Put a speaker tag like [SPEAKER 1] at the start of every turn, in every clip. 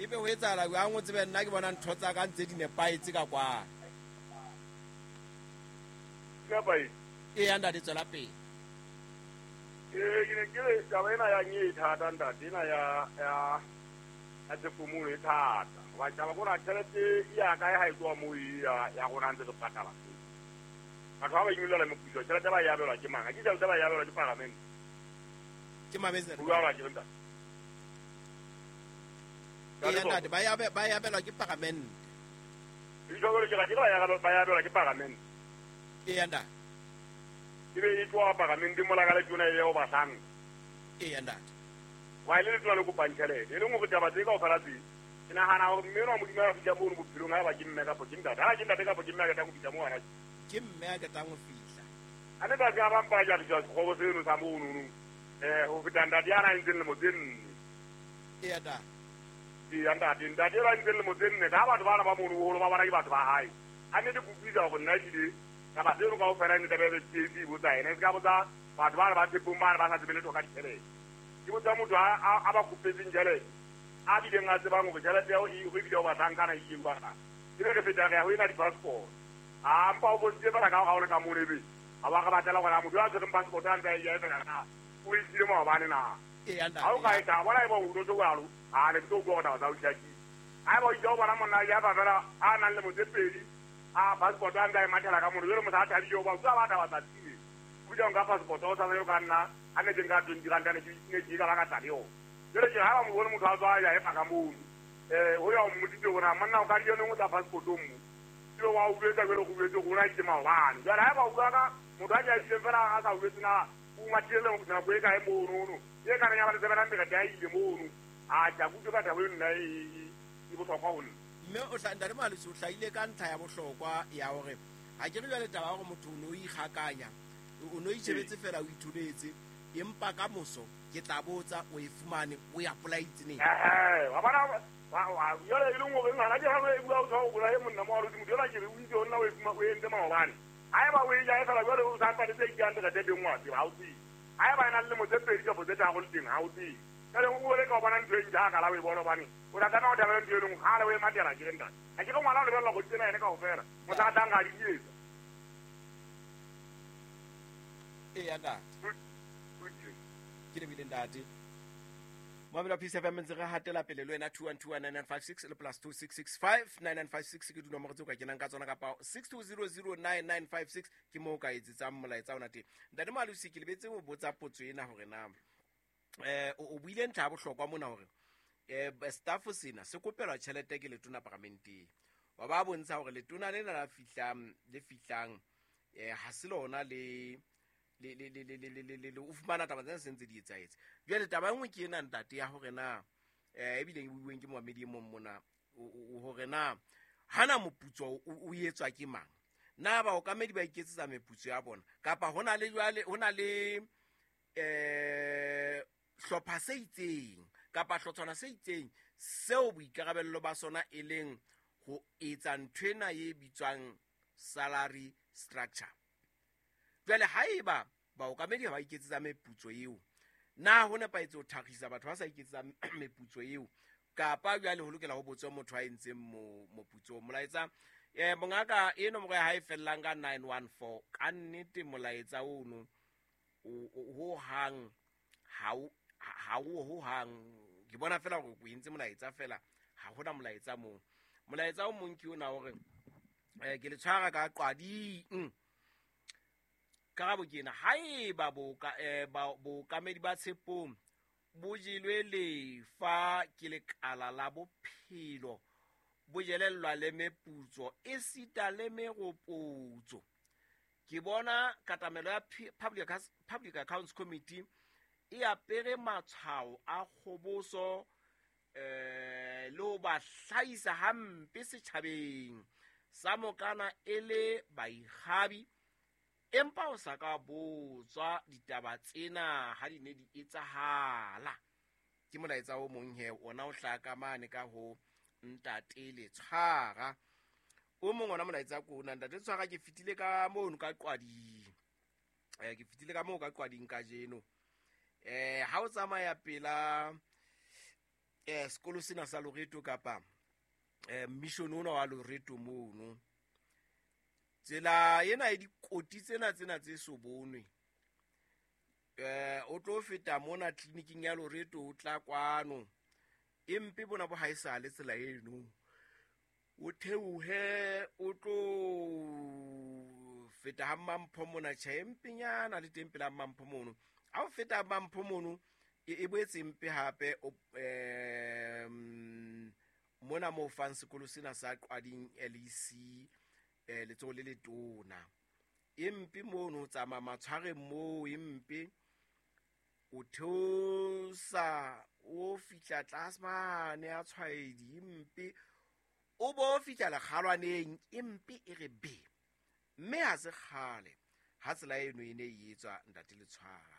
[SPEAKER 1] Ebe ho etsahala jwang o tsebe nna ke bona ntho tsa ka ntse di nepahetse ka kwana.
[SPEAKER 2] Nepahetse.
[SPEAKER 1] Eya ntate, tswela pele.
[SPEAKER 2] Ee, ke ne ke re taba ena ya nye e thata ntate, ena ya ya ya Tshepomulo e thata. Hoba taba kona tjhelete e ya kae ha e tloha moo e ya ya rona ntse re patala. Batho ba ba inyollela moputso, tjhelete ba e abelwa ke mang? Ha ke tjhelete ba e abelwa ke paramente.
[SPEAKER 1] Ke mametse.
[SPEAKER 2] Ho jwalo akere ntate?
[SPEAKER 1] Eya ntate, ba e abelwa ke paramente.
[SPEAKER 2] Jwalo ke ra ke ba e abelwa ke paramente.
[SPEAKER 1] Eya ntate.
[SPEAKER 2] Ebe e tloha paramente mola ka letona e ho bahlanka.
[SPEAKER 1] Eya ntate.
[SPEAKER 2] Wa ile letona le kopang tjhelete. E leng hore taba tse kaofela tse ke nahana hore mme enwa Modimo a fihla mono bophelong ha eba ke mme kapa ke ntate. Ha ke ntate kapa ke mme a qetang ho fihla moo hana.
[SPEAKER 1] Ke mme a qetang ho fihla.
[SPEAKER 2] A ne tate a ba mpa ja fihla sekgobo seno sa mono no. Ho feta ntate ya na entseng lemo tse nne.
[SPEAKER 1] Eya ntate.
[SPEAKER 2] Eya ntate, ntate eno a entseng lemo tse nne ka batho bana ba mono boholo ba bona ke batho ba hae. A nnete ke utlwisa hore nna ebile taba tseno kaofela e ne tlameha ebe PAC e botsa yena, e se ka botsa batho bana ba Tshepong bana ba sa tsebe letho ka ditjhelete. Ke botsa motho a ba kopetseng tjhelete, a bileng a tsebang hore tjhelete eo e ebile o bahlankana e ile jwang. Ebe re feta re ya ho ena di-passport. A mpa o bontshitse fela ka hore ha o le ka mono ebe ha wa re batlela hore na motho a tshwereng passport a ntse a e ja e fela na o e siile maobane na. Ha o ka etsa bona eba o utlwetse jwalo, a ne ke tlo utlwa hore taba tsa ho hlakile. Haeba o itse o bona monna ya fa fela a nang le motse pedi a passport a ntse a e mathela ka mono, jwale motho a thabile hoba o ba taba tsatsing. O bitsa nka passport o sa sa ka nna a ne ke nka 20 rand ne ke ne ke ka ba ka tla le yona. Jwale ke ha ba mo bone motho a tswa ya e paka mono. Ho ya o mmoditse hore na monna o ka di yone o tla passport o mo. Jwale wa utlwetsa jwale go utlwetse rona itse maobane. Jwale haeba o bua ka motho a ja fela a sa utlwetse na o mathile le nako e kae mono no. E ka reng ya ba le tsebela mbere ya ile mono. A ja kutlwe ka taba eno nna e bohlokwa ho nna.
[SPEAKER 1] Mme o tla ntate Moalosi o hlahile ka ntlha ya bohlokwa ya hore ha ke re jwale taba ya hore motho o no ikgakanya, o no itjhebetse fela o itholetse, empa ka moso ke tla botsa o e fumane o ya polaitse neng.
[SPEAKER 2] Wa bona jwale e leng hore ngwana ke ha e bua o tshwa o bolaye monna Moalosi motho ela ke re o itse ho nna o e fuma o entse maobane. Haeba o e ja e fela jwale o sa mpatetse 800 teng wa tseba ha o tsebe. Haeba e na le lemo tse pedi kapa tse tharo le teng ha o tsebe. Jwale o le ka o bona ntho e ntjha ka la o e bona hobane o tla tlameha ho thabela ntho e leng kgale o e matela ke re ntate. Ha ke re ngwana o lebella go tsena ene kaofela. Motho a tlang a di etsa.
[SPEAKER 1] Eya ntate. Ke lebile ntate. Mamela Peace FM ntse re hatela pele le wena 2129956 le plus 26659956 ke dinomoro tseo ka kenang ka tsona kapa 62009956 ke moo ka etsetsang molaetsa ona teng. Ntate Moalosi ke lebetse ho botsa potso ena hore na o buile ntlha ya bohlokwa mona hore staff sena se kopelwa tjhelete ke letona paramenteng. Wa ba bontsha hore letona lena la fihlang le fihlang ha se lona le le o fumana taba tsena se ntse di etsahetse. Jwale taba e nngwe ke ena ntate ya hore na ebile e buiweng ke moamedi e mong mona hore na hana moputso o etswa ke mang. Na baokamedi ba iketsetsa meputso ya bona kapa hona le jwale hona le hlopha se itseng kapa hlotshwana se itseng seo boikarabello ba sona e leng ho etsa nthwena e bitswang salary structure. Jwale haeba baokamedi ha ba iketsetsa meputso eo, na ho nepahetse ho thakgisa batho ba sa iketsetsa meputso eo kapa jwale ho lokela ho botswe motho a entseng moputso? Molaetsa mongaka e nomoro ya hae fellang ka 914 ka nnete molaetsa ono ho hang ha o ho hang ke bona fela hore o entse molaetsa fela ha hona molaetsa moo. Molaetsa o mong ke ona hore ke le tshwara ka qwading. Karabo ke ena, haeba bookamedi ba Tshepong bo jelwe lefa ke lekala la bophelo, bo jelellwa le meputso esita le meropotso. Ke bona katamelo ya Public Accounts Committee e apere matshwao a kgoboso le ho ba hlahisa hampe setjhabeng sa mokana e le baikgabi, empa o sa ka botswa ditaba tsena ha di ne di etsahala. Ke molaetsa o mong he ona o hlaka mane ka ho ntate Letshwara. O mong ona molaetsa ko ona ntate Letshwara, ke fetile ka mono ka Qwading. Ke fetile ka moo ka Qwading kajeno. Ha o tsamaya pela Sekolo sena sa Loreto kapa mission ona wa Loreto mono, tsela ena e dikoti tsena tsena tse so bonwe, o tlo feta mona tleliniking ya Loreto, o tla kwano e mpe bona bo haesale tsela eno, o theohe o tlo feta ha Mampho mona, tjhe e mpenyana le teng pela Mampho mono. Ha o feta Mampho mono e boetse mpe hape mona moo fang sekolo sena sa Qwading LEC, letsoho le letona e mpe mono, o tsamaya matshwareng moo e mpe, o theosa o fihla tlase mane a tshwaedi e mpe, o bo fihla lekgalwaneng e mpe e re be. Mme ha se kgale ha tsela eno e ne e etswa ntate Letshwara.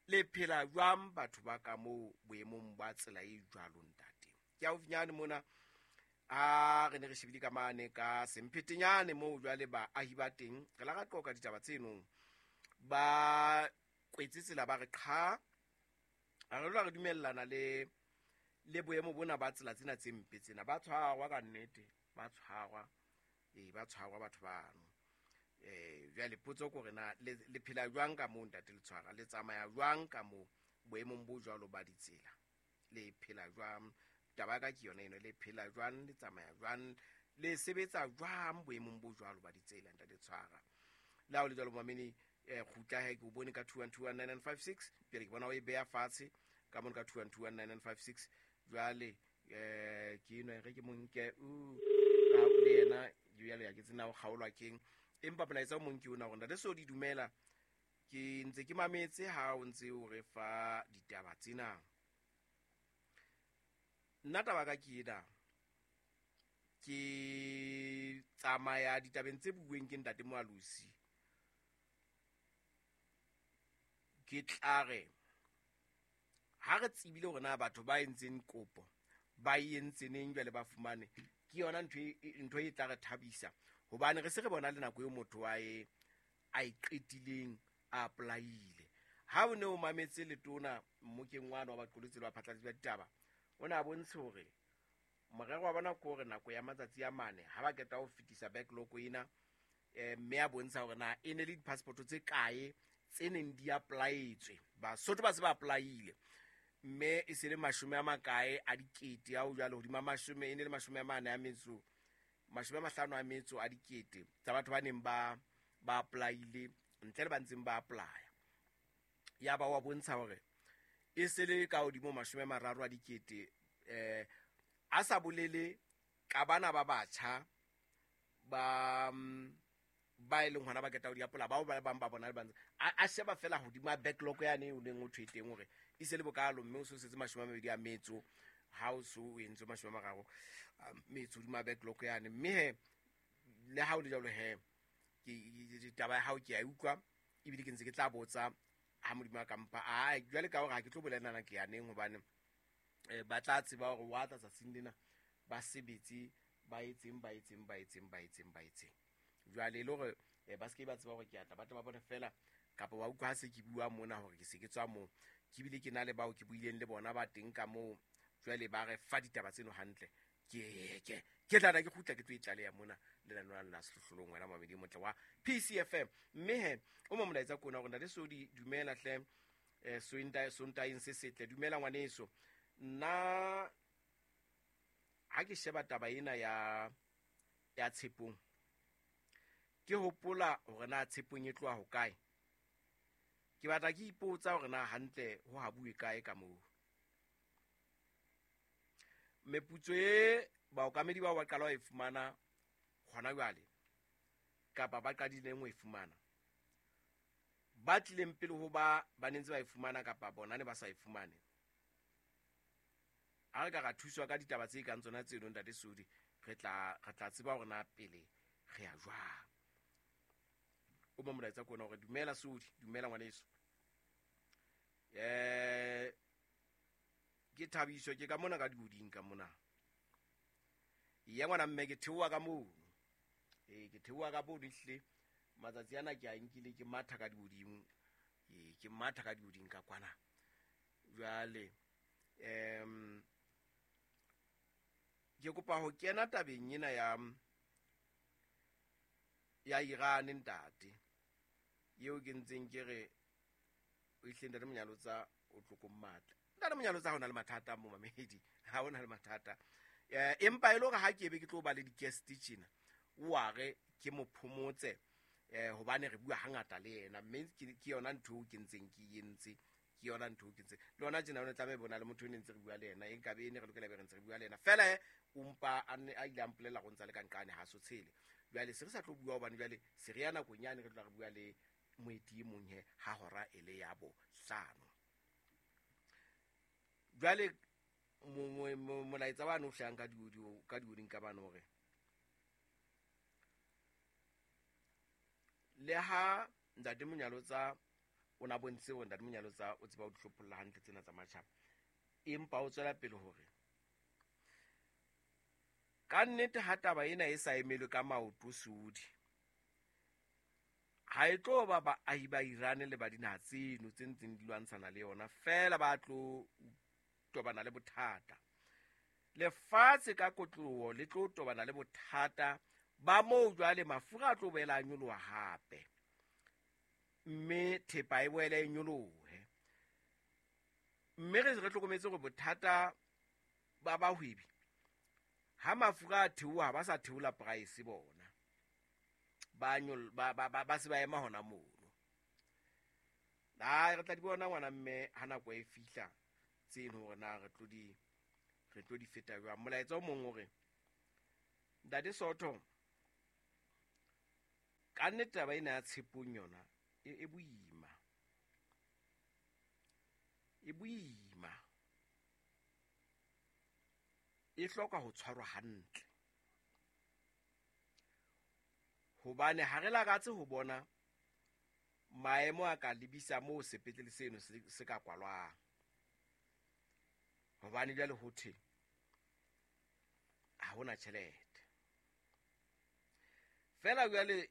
[SPEAKER 1] Le phela jwang batho ba ka moo boemong ba tsela e jwalo ntate? Ke haufinyane mona a re ne re shebile ka mane ka Semphetenyane moo jwale baahi ba teng re la ra qoqa ditaba tseno, ba kwetse tsela ba re qha, a re lwa re dumellana le boemo bona ba tsela tsena tse mpe tsena. Ba tshwarwa ka nnete, ba tshwarwa, ba tshwarwa batho bano. Jwale potso ke hore na le phela jwang ka moo ntate Letshwara, le tsamaya jwang ka moo boemong bo jwalo ba ditsela, le phela jwang? Taba ya ka ke yona eno, le phela jwang, le tsamaya jwang, le sebetsa jwang boemong bo jwalo ba ditsela ntate Letshwara? Le ha o le jwalo mamedi, kgutla he, ke o bone ka 21219956, pele ke bona o e beha fatshe ka mono ka 21219956. Jwale ke eno re ke monke ka le yena jwale ya ke tsena ho kgaolwa keng, empa molaetsa o mong ke ona hore ntate so di dumela, ke ntse ke mametse ha o ntse o re fa ditaba tsena. Nna taba ka ke ena, ke tsamaya ditabeng tse bueng ke ntate Moalosi, ke tla re ha re tsebile hore na batho ba entseng kopo ba e entse neng jwale ba fumane, ke yona ntho e tla re thabisa, hobane re se re bona le nako eo motho a e qetileng a apply-ile. Ha o ne o mametse letona mmokeng wane wa baqolotsi le baphatlalatsi ba ditaba, o ne a bontshe hore morero wa bona ke hore nako ya matsatsi a mane ha ba qeta ho fetisa backlog ena, mme a bontsha hore na e ne le di-passport tse kae tse neng di apply-etswe, Basotho ba se ba apply-ile, mme e se le mashome a makae a dikete ao jwale hodima mashome, e ne le mashome a mane a metso, mashome a mahlano a metso a dikete tsa batho ba neng ba apply-ile ntle le ba ntseng ba apply-a. Ya ba wa bontsha hore e se le ka hodimo 30 a dikete, a sa bolele ka bana ba batjha ba e leng hona ba keta ho di apola, bao ba bang ba bona le ba ntse a sheba fela hodima backlog yane o neng o thwe teng hore e se le bokalo, mme o se setse 20 a metso, ha o so o entse 30 metso hodima backlog yane. Mme he le ha o le jwalo he, ke taba ya hao ke a utlwa, ebile ke ntse ke tla botsa ha Modimo a ka mpha. A jwale ka hore ha ke tlo bolelana ke yaneng, hobane ba tla tseba hore wa tla tsatsing lena ba sebetse ba etseng ba etseng ba etseng ba etseng ba etseng. Jwale le hore ba se ke ba tseba hore ke atla, ba tle ba bone fela kapa ba utlwa ha se ke bua mona hore ke se ke tswa moo, ke bile ke na le bao ke buileng le bona ba teng ka moo, jwale ba re fa ditaba tseno hantle. Ke tla ke kgutla ke tlo e tlaleha mona lenaneo la Sehlohlolong, wena mamedi motle wa PCFM. Mme he o mo molaetsa kona hore ntate Sodi dumela hle, Sontaeng se setle, dumela ngwaneso. Nna ha ke sheba taba ena ya Tshepong, ke hopola hore na Tshepong e tloha hokae. Ke batla ke ipotsa hore na hantle ho ha bue kae ka moo. Meputso e baokamedi bao ba qala ho e fumana hona jwale, kapa ba qadileng ho e fumana, ba tlileng pele ho ba ne ntse ba e fumana kapa bona ne ba sa e fumane. Ha re ka ra thuswa ka ditaba tse kang tsona tseno ntate Sodi, re tla tseba hore na pele re ya jwang. O mo molaetsa kona hore dumela Sodi, dumela ngwaneso. Ke thabiso ke ka mona ka dihoding ka mona. Ya ngwana mme ke theoha ka mono. Ke theoha ka mono ehlile. Matsatsi ana ke a nkile ke matha ka dihoding. Ke matha ka dihoding ka kwana. Jwale Ke kopa ho kena tabeng ena ya Iran ntate. Eo ke ntseng ke re o ihle ntate Monyalotsa o tlokong matla. Ntate Monyalotsa ha ona le mathata mo mamedi, ha ona le mathata. Empa e le hore ha ke be ke tlo ba le di-guest tjena, o a re ke mo phomotse hobane re bua hangata le yena, mme ke yona ntho eo ke ntseng ke entse, ke yona ntho eo ke ntse le yona tjena. O ne tlameha bona le motho o ne ntse re bua le yena, e nkabe e ne re lokela be re ntse re bua le yena fela. O mpa a ne a ile a mpolela go ntsa le ka nqane ha so tshele. Jwale se re sa tlo bua hobane jwale se re ya nakong yane re tla re bua le moeti e mong he ha hora e le ya bohlano. Jwale molaetsa wane o hlahang ka di-audio, ka di-audio ka bane hore le ha ntate Monyalotsa o na bontshitse hore ntate Monyalotsa o tseba ho di hlopholla hantle tsena tsa matjhaba, empa o tswela pele hore ka nnete ha taba ena e sa emelwe ka maoto Saudi, ha e tlo ba baahi ba Iran le ba dinaha tseno tse ntseng di lwantshana le yona fela ba tlo tobana le bothata. Lefatshe ka kotloloho le tlo tobana le bothata ba moo. Jwale mafura a tlo boela a nyoloha hape, mme thepa e boele e nyolohe, mme re hlokometse hore bothata ba bahwebi ha mafura a theoha, ba sa theola price, bona ba nyol ba ba ba, ba se ba ema hona mono. Ai, re tla di bona ngwana mme ha nako e fihla tseno hore na re tlo di feta jwang. Molaetsa o mong hore ntate Soto, ka nnete taba ena ya Tshepong yona e boima, e boima, e hloka ho tshwarwa hantle hobane ha re lakatse ho bona maemo a ka lebisa moo sepetlele seno se ka kwalwang, hobane jwale ho thwe ha hona tjhelete fela. Jwale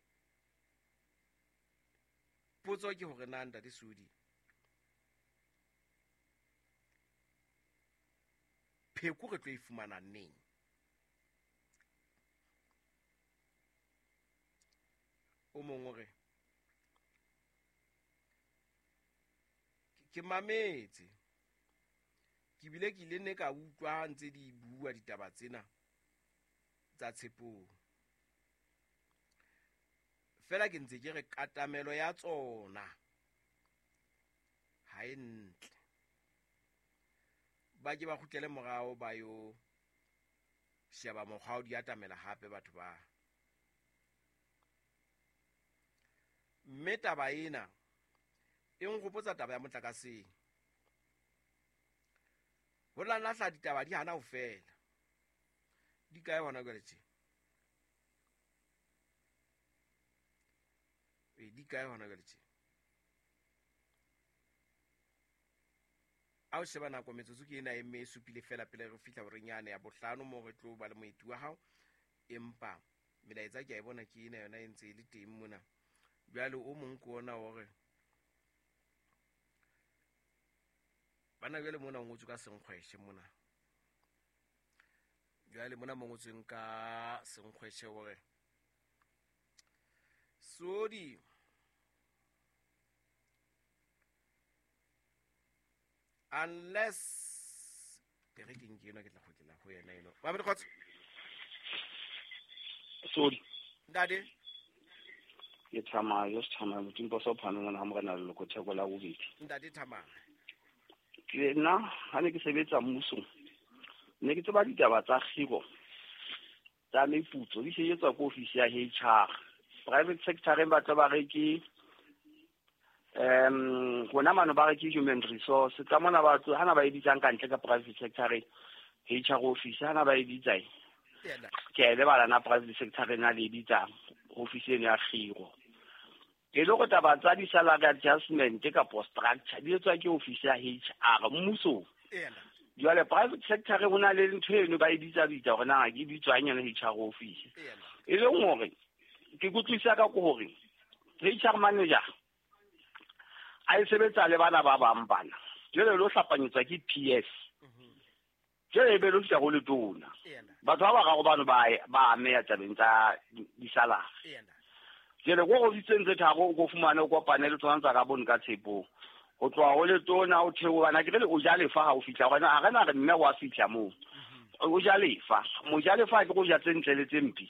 [SPEAKER 1] potso ke hore na ntate Sudi, pheko re tlo e fumana neng? O mong o re ke mametse, ke bile ke ile ne ka utlwa ha ntse di bua ditaba tsena tsa Tshepong fela, ke ntse ke re katamelo ya tsona ha e ntle, ba ke ba kgutlele morao, ba yo sheba mokgwa o di atamela hape batho ba. Mme taba ena e nkgopotsa taba ya motlakaseng, ho la lahla ditaba di hana ho fela, di kae hona jwale tje? Ee, di kae hona jwale tje? A o sheba nako, metsotso ke ena e mme e supile fela pele re fihla horeng yane ya bohlano moo re tlo ba le moeti wa hao. Empa melaetsa ke a e bona, ke ena yona e ntse e le teng mona. Jwale o mong ke ona hore bana jwale mona o ngotswe ka senkgweshe mona, jwale mona mo ngotsweng ka senkgweshe hore Sodi unless e re ke nke ena, ke tla kgutlela ho yena eno. Mamedi, kgotso.
[SPEAKER 3] Sodi.
[SPEAKER 1] Ntate.
[SPEAKER 3] Ke Thamaya, se Thamaya Motimpa sa phano ngwana ha morena leloko theko la bobedi.
[SPEAKER 1] Ntate Thamaya.
[SPEAKER 3] Ke nna ha ne ke sebetsa mmusong, ne ke tseba ditaba tsa kgiro tsa meputso di sebetswa ko ofisi ya HR. Private sector ba tla ba re ke rona mano ba re ke human resource tsa mona, batho hana ba e bitsang ka ntle ka private sector HR office hana ba e bitsang.
[SPEAKER 1] Yena.
[SPEAKER 3] Ke a e lebala na private sector na le e bitsang office eno ya kgiro, e le gore taba tsa di-salary adjustment kapo structure di etswa ke office ya HR mmusong.
[SPEAKER 1] Yena.
[SPEAKER 3] Jwale private sector ho na le ntho eno ba e bitsa bitsa hore na ke bitswang yona HR office.
[SPEAKER 1] Yena.
[SPEAKER 3] E leng hore ke kutlwisa ka ke hore HR manager a e sebetsa le bana ba bang bana, jwale lo hlapanyetswa ke PS. Jwale ebe lo fihla go letona. Batho ba bararo bano ba ameha tabeng tsa di-salary. Jwale ko ofising tse tharo o ko fumane o kopane le tsona tsa ka bone ka Tshepong. Ho tloha ho letona o theoha bana ke re o ja lefa ha o fihla gona ha re na re mme wa fihla moo. O ja lefa. Mojalefa ke go ja tse ntle le tse mpe.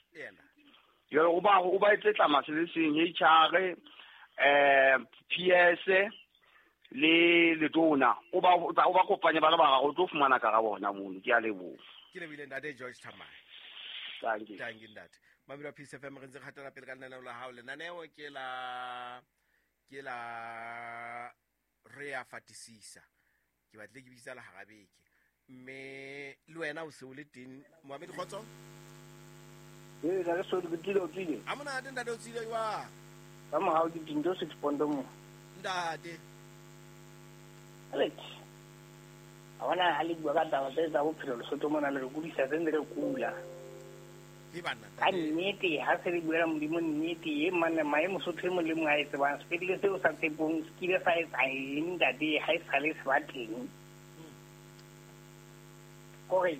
[SPEAKER 3] Jwale o ba etse tlama se le seng HR, PS le letona o ba kopanye ba le bararo o tlo fumana karabo hona mono. Ke a leboha.
[SPEAKER 1] Ke lebile ntate George Thamai.
[SPEAKER 3] Thank you.
[SPEAKER 1] Thank you ntate. Mamelo Peace FM re ntse re hatela pele ka lenaneo la hao. Lenaneo ke la re a fatisisa. Ke batle ke bitsa la hara beke. Mme le wena o se o le teng Mohammed Khotso?
[SPEAKER 4] Ee, la re so ke tlile o tlile.
[SPEAKER 1] A monate ntate o tsile jwang?
[SPEAKER 4] Ka mohau ke dinto 6 pondo mo.
[SPEAKER 1] Ntate.
[SPEAKER 4] Alex. A bona ha le bua ka taba tse tsa bophelo Lesotho mona le re kudisa tse re kula.
[SPEAKER 1] Ke banna.
[SPEAKER 4] Ka nnete ha se re buela Modimo nnete e manne maemo Mosotho e mong le mong a e tsebang sepetlele seo sa Tshepong se kile sa etsa eng ntate ha e sale se ba teng. Kore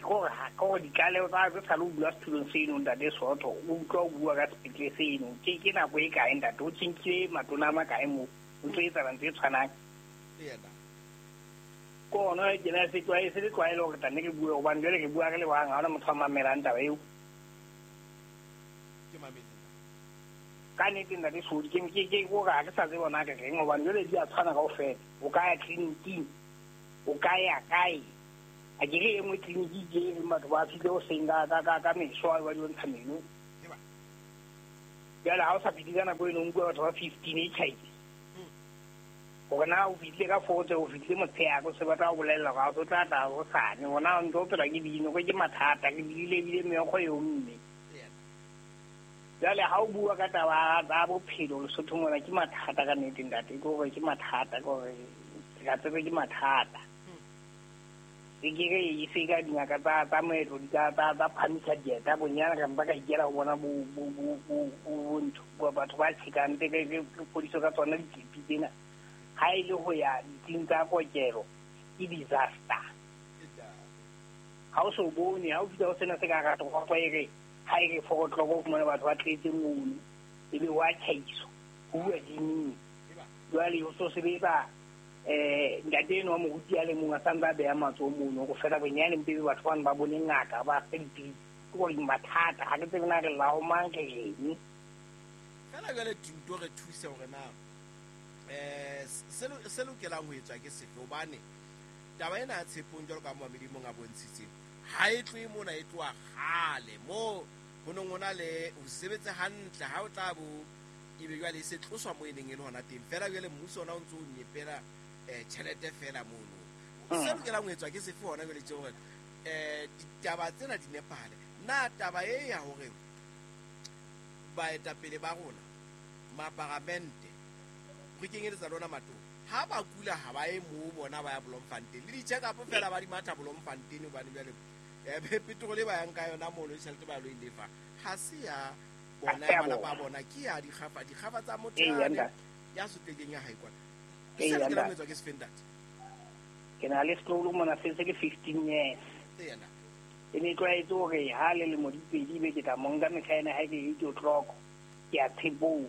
[SPEAKER 4] ditlaleho tsa tse sa le o bua setulong seno ntate Soto o utlwa o bua ka sepetlele seno ke nako e kae ntate o tjhentjhile matona a makae moo o ntso etsahala ntho e tshwanang. Ke ona ke na se tlwae se le tlwaelo hore tlanne ke bue hobane jwale ke bua re le bang ha hona motho a mamelang taba eo.
[SPEAKER 1] Ke mametse.
[SPEAKER 4] Ka nnete ntate Sodi ke hore ha ke sa tsebe hore na ke reng hobane jwale di a tshwana kaofela. O ka ya tleliniking, o ka ya kae. A ke re e nngwe tleliniki ke e reng batho ba fihle hoseng ka meso ba di ntsha meno. Jwale ha o sa fihle ka nako eno o nkuwa batho ba 15 e tjhaile. Hore na o fihlile ka 4 tse o fihlile motshehare o se batla ho bolella hore ha o tla tla hosane. Hona o ntso o phela ke dino ke mathata ke bile ebile meokgo eo mme. Jwale ha o bua ka taba tsa bophelo Lesotho mona ke mathata ka nnete ntate ke hore ke mathata ke hore ka tsebe ke mathata. Ke re e se ka dingaka tsa moetlo di ka tsa phamisa dieta bonyane re mpa ka ikela ho bona bo ntho batho ba tjhekang tse ke fodiso ka tsona ditlepi tsena. Ha e le ho ya ditsing tsa kokelo ke disaster. Ha o so bone ha o fihla ho sena se ka rata go e re ha e re 4 o'clock o fumane batho ba tletse mono ebe wa tjhaiso ho bua diming. Jwale ho so sebetsa ntate eno wa moruti a le mong a santse a beha matsoho mono go fela bonyane mpe batho bano ba bone ngaka ba fe dipilisi. Ke gore mathata ha ke tsebe na re lao mang ke eng.
[SPEAKER 1] Fela jwale Tinto re thuse hore na se lokelang ho etswa ke sefe hobane taba ena ya Tshepong jwalo ka Mohammed mong a bontshitseng ha e tlohe mona e tloha kgale moo ho neng ho na le ho sebetse hantle ha o tla bo ebe jwale e se tloswa mo e neng e le hona teng fela jwale mmuso ona o ntso o nyepela tjhelete fela mono. Se lokelang ho etswa ke sefe hona jwale tje hore ditaba tsena di nepahale. Na taba e ya hore baetapele ba rona maparamente re kenyeletsa lona matona ha ba kula ha ba ye moo bona ba ya Bloemfontein le di-check-up fela ba di matha Bloemfontein hobane jwale petrol e ba yang ka yona mono tjhelete ba lo e lefa ha se ya bona ya malapa a bona ke ya dikgafa tsa motho ya sotlehileng ya hae kwana. Se lokelang ho etswa ke sefe ntate?
[SPEAKER 4] Ke na le setloholo mona se se ke 15 years. E ne tlwaetse hore ha le lemo di pedi be ke tla mo nka mehla ena ha ke 8 o'clock ke ya Tshepong.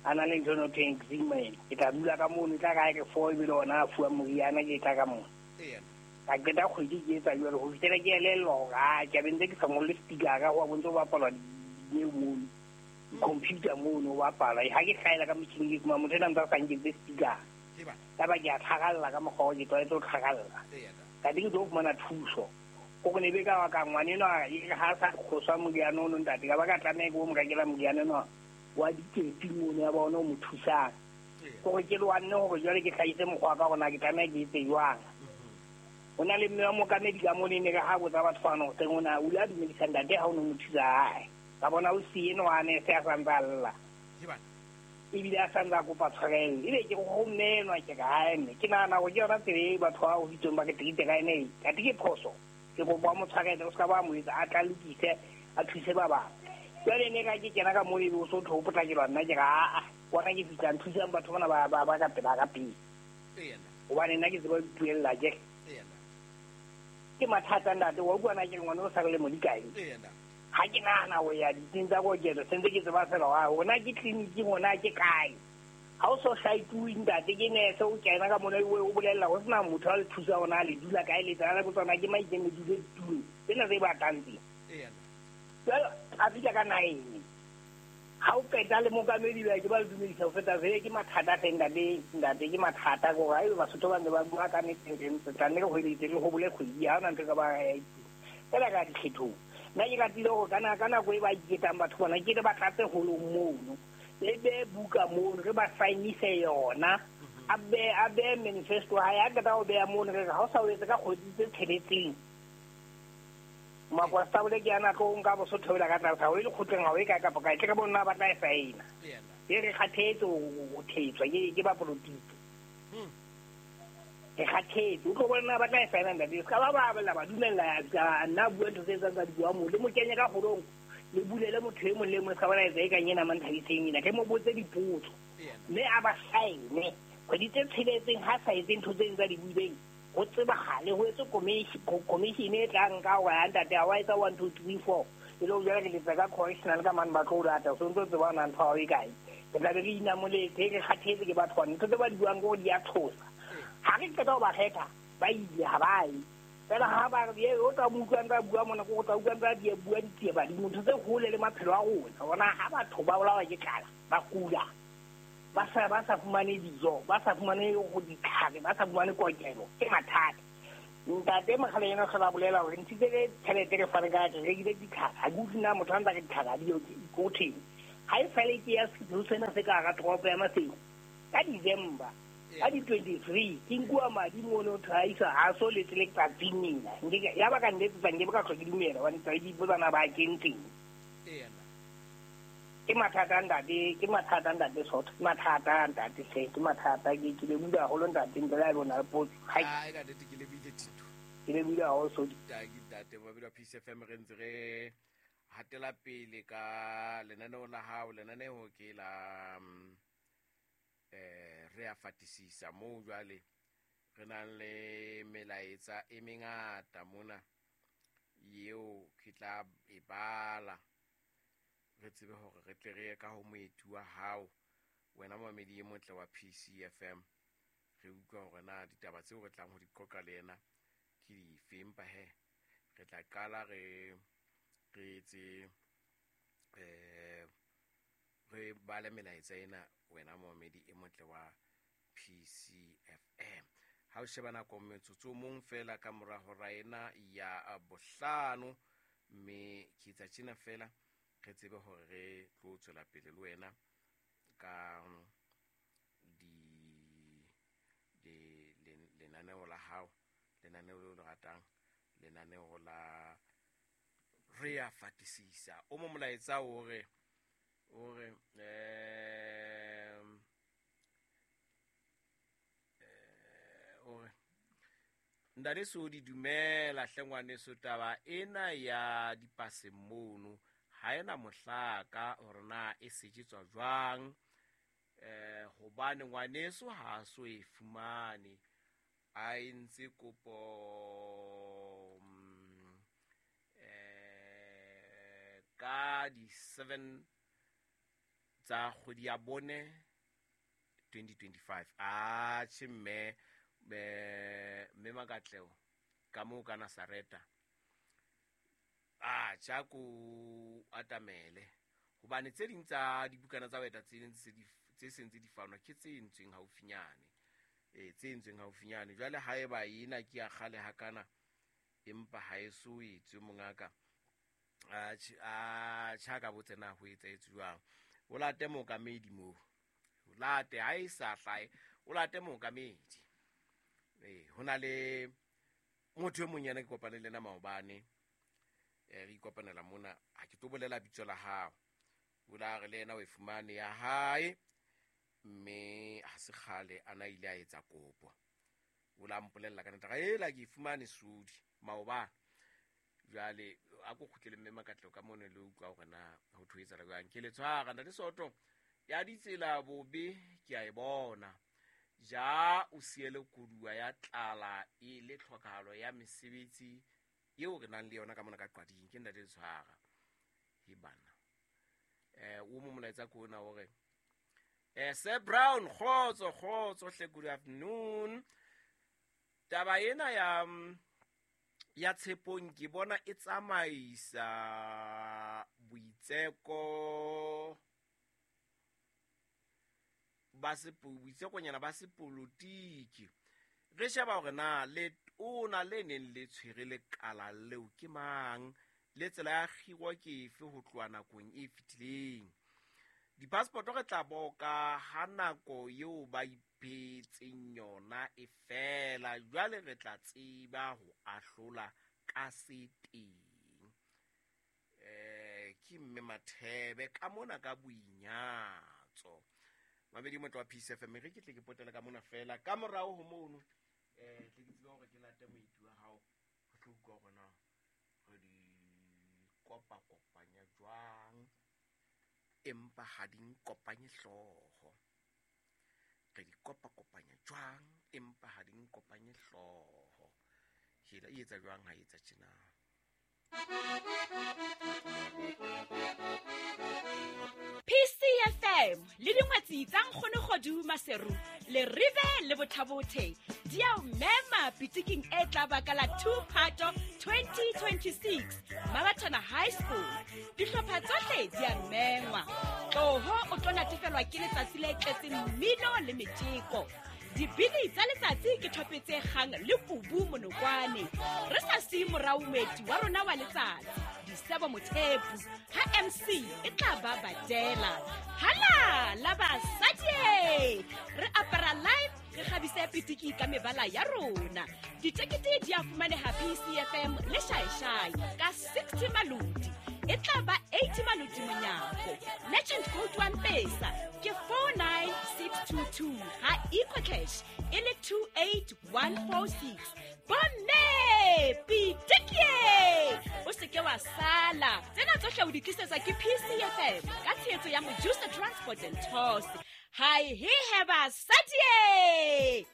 [SPEAKER 4] A na le ntho eno thweng eczema ena. Ke tla dula ka mono e tla ka re 4 ebile ona a fuwa moriana ke tla ka mono. Ka qeta kgwedi ke etsa jwalo ho fihlela ke elellwa hore ha ke be ntse ke sa ngolle speaker ho bontse ho bapalwa dineo mono. Computer mono ho bapalwa. Ha ke hlaela ka motjhining ke fumana motho ena ntse a sa nketse speaker. Ka ba ke a tlhagalla ka mokgwa o ke tlwaetse ho tlhagalla. Ka teng ke tlo fumana thuso. Ko ne be ka wa ka ngwana enwa ha sa kgoswa moriana ono ntate ka ba ka tlameha ke o mo rekela moriana enwa wa dikepi mono ya ba ona o mo thusang. Kore ke lwanne hore jwale ke hlahise mokgwa wa ka hore na ke tlameha ke etse jwang. Ho na le mme wa mookamedi ka mona e ne re ha botsa batho bana hoseng ona o ile a dumedisa ntate ha o no mo thusa hae. Ka bona o siye enwa a ne se a santse a lla. Ebile a santse a kopa tshwarelo. Ebe ke ho mme enwa ke re hae mme ke nahana hore ke yona tsela e batho ba hoditsweng ba re treat-e ka ena e. Kate ke phoso. Ke kopa mo tshwarele o ska ba mo etsa a tla lokise a thuse ba bang. Jwale ne ka ke kena ka moo ebe o so tho potlakelwa nna ke re aa bona ke fihlang thusang batho bana ba ka pela ka pele. Hobane nna ke tseba ho ipuella ke. Ke mathata ntate wa utlwa na ke re ngwana o sa re lemo di kae? Ha ke nahana ho ya ditsing tsa kokelo sentse ke tseba fela wa hona ke tleliniking hona ke kae. Ha o so hlaituwe ntate ke nese o kena ka mona o bolella ho sena motho a le thusa hona le dula kae le tsana le tsona ke maikeng le dule ditulong tsena tse batlang tse. Jwale a fihla ka 9. Ha o qeta le mokamedi ba ke ba le dumedisa ho feta vele ke mathata hle ntate ke mathata gore haebe Basotho ba ntse ba bua ka nnete re tla nne re hweletse re hobole kgwedi ha hona ntho e ka ba ya fela ka dikgethong. Nna ke ratile hore ka nako e ba iketsang batho bona ke re ba tlatse holong mono le be buka mono re ba sainise yona a be manifesto hae a qeta ho beha mono re re ha o sa o etse ka kgwedi tse 6 Makwastabole ke ana tlo nka Bosotho bela ka tlase ha o e lekgotleng ha o e kae kapa kae tle re bonna ba tla e saena. E re kgathetse ho thetswa ke ba polotiki. Re kgathetse o tlo bona ba tla e saena ntate se ka ba ba bela ba dumella ka nna bua ntho tse tsang tsa di bua mo le mo kenye ka holong le bulele motho e mong le mong se ka bona etsa e kang ena manthabiseng ena ke mo botse dipotso mme a ba saene kgwedi tse 6 ha sa etse ntho tse tsa di buileng ho tsebahale ho etse commission e tlang ka hore ha ntate ha wa etsa 1 2 3 4 e le jwale re letsa ka correctional ka mane ba tlo o lata so ntso tseba na ntho ha e kae re tla be re inamoletse re kgathetse ke batho bana ntho tse ba di buang ke hore di a tshosa ha re qeta ho ba kgetha ba ile ha ba ye fela ha ba re o tla mo utlwa ntse a bua mona ko tla utlwa ntse a di bua ditsie badimo ntho tse hole le maphelo a rona bona ha batho ba bolawa ke tlala ba kula ba sa fumane dijo ba sa fumane go ditlhare ba sa fumane kokelo ke mathata. Ntate mogale ena hlola bolela hore ntshitse ke tjhelete re fane ka re rekile ditlhare ha ke utlwe na motho a ntse a re ditlhare ha di yo ko thweng ha e sale ke ya setho sena se ka hara toropo ya Maseru ka December ka di 23 ke nkuwa madi mono motho a isa ha so letse letsatsing nena ya ba ka nletsetsa nke be ka hlwa ke dumela hobane tsa ke ipotsa na ba kentseng. Ke mathata ntate, ke mathata ntate Sotho, ke mathata ntate hle, ke mathata ke lebohile haholo ntate ntle le ha ebe o na le potso.
[SPEAKER 1] Ai ka nnete ke lebohile Tito.
[SPEAKER 4] Ke lebohile haholo Sotho.
[SPEAKER 1] Ntate Mabedi wa Peace FM re ntse re hatela pele ka lenaneo la hao, lenaneo ke la re a fatisisa moo jwale re nang le melaetsa e mengata mona eo ke tla e bala re tsebe hore re tle re ye ka ho moeti wa hao wena momamedi e motle wa PCFM re utlwa hore na ditaba tseo re tlang ho di qoqa le yena ke dife empa he re tla qala re etse re bale melaetsa ena wena momamedi e motle wa PCFM. Ha o sheba nako metsotso o mong fela ka mora hora ena ya 5 mme ke etsa tjena fela re tsebe hore re tlo tswela pele le wena ka lenaneo la hao, lenaneo leo le ratang, lenaneo la re a fatisisa. O mo molaetsa o re o re Ntate Sodi dumela hle ngwaneso, taba ena ya dipase mono ha ena mohlaka hore na e sejetswa jwang hobane ngwaneso ha so e fumane a entse kopo ka di 7 tsa kgwedi ya 4 2025. Atjhe mme Makatleho ka moo ka Nasareta a tjha ko atamele hobane tse ding tsa dibukana tsa baeta tse seng tse di fanwa ke tse entsweng haufinyane tse entsweng haufinyane. Jwale haeba ena ke ya kgale hakana empa ha e so etswe mongaka a tjha ka botse na ho etsahetse jwang. O late mookamedi moo, o late ha e sa hlahe, o late mookamedi. Ho na le motho e mong yena ke kopane le yena maobane re ikopanela mona ha ke tlo bolela bitso la hao o la re le yena o e fumane ya hae mme ha se kgale a na ile a etsa kopo o la mpolella ka nnete ga ela ke e fumane Sodi maobane. Jwale a ko kgutlele mme Makatleho ka mono le utlwa hore na ho thwe etsahala jwang. Ke le tshwara ntate Soto ya ditsela bobe ke a e bona. Ja o siele koduwa ya tlala e le tlhokahalo ya mesebetsi eo re nang le yona ka mona ka Qwading. Ke ntate Tshwara he bana. O mo molaetsa ko ona hore Sir Brown, kgotso kgotso hle, good afternoon. Taba ena ya Tshepong ke bona e tsamaisa boitseko ba boitsekonyana ba sepolotiki. Re sheba hore na letona le neng le tshwere lekala leo ke mang, le tsela ya kgiro ke efe ho tloha nakong e fetileng. Di-passport re tla boka ha nako eo ba iphetseng yona e fela, jwale re tla tseba ho ahlola ka se teng. Ke mme Mathebe ka mona ka boinyatso. Mabedi motho wa Peace FM, re ke tle ke potele ka mona fela ka morao ho mono. Tle ke tsebe hore ke late moeti wa hao, re tlo utlwa hore na re di kopa-kopanya jwang, empa ha di nkopanye hlooho. Re di kopa-kopanya jwang, empa ha di nkopanye hlooho. Hela e etsa jwang ha e etsa tjena?
[SPEAKER 5] PCFM le dingwetsi tsa Nkgono Kgodu Maseru le Rive le Bothabothe di a o mema pitiking e tla ba ka la 2 Phato 2026 Mabathana High School. Dihlopha tsohle di a mengwa. Tloho o tlo natefelwa ke letsatsi le tletseng mmino le metjeko. Dibini tsa letsatsi ke thope tse kgang le kubu monokwane. Re sa siye morao moeti wa rona wa letsatsi, Disebo Mothepu, ha MC e tla ba badela. Hala la basadi! Re apara live, re kgabise pitiki ka mebala ya rona. Ditekete di a fumaneha PCFM le Shaeshai ka 60 maloti. E tla ba 80 maloti monyako. Legend code wa Mpesa ke 49622 ha EcoCash e le 28146. Bomme pitiki, o se ke wa sala. Tsena tsohle o di tlisetswa ke PCFM ka tshehetso ya Mojusa Transport and Tours. Hi he he basadi!